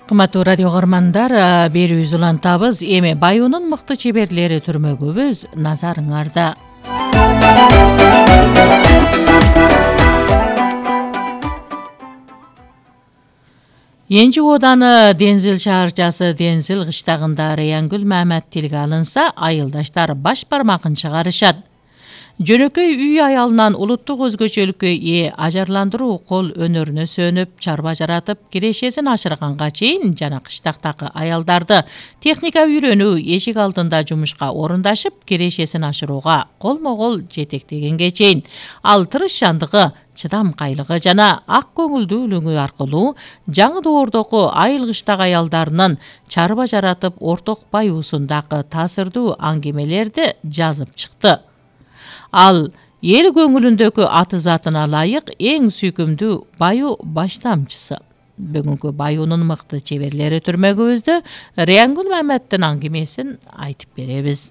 Кымбаттуу радио көрөрмандар, берүүбүз улантабыз. Эми Баюунун мыкты чеберлери түрмөгүбүз назарыңарда. Энжи ооданы Деңзил шаарчасы Деңзил кыштагында Раянгүл Мамат тилге алынса, айылдаштар баш бармагын чыгарышат. Жөнөкөй үй аялынан улуттук өзгөчөлүккө ээ ажарландыруу кол өнөрүнө сөнүп, чарба жаратып, кирешесин ашырганга чейин жана кыштактагы аялдарды техника үйрөнүү, эшик алдында жумушка орундашып, кирешесин ашырууга колмо-кол жетектегенге чейин ал тырышчандыгы, чыдамкайлыгы жана ак көңүлдүүлүгү аркылуу жаңы доордогу айыл кыштак аялдарынын чарба жаратып, орток баюусундагы таасирдуу аңгемелерди жазып чыкты. Ал эл көңүлүндөгү аты затына ылайык эң сүйкүмдүү баю баштамчысы. Бүгүнкү Баюунун мыкты чеберлери түрмөгүбүздө Раянгүл Маматтын аңгемесин айтып беребиз.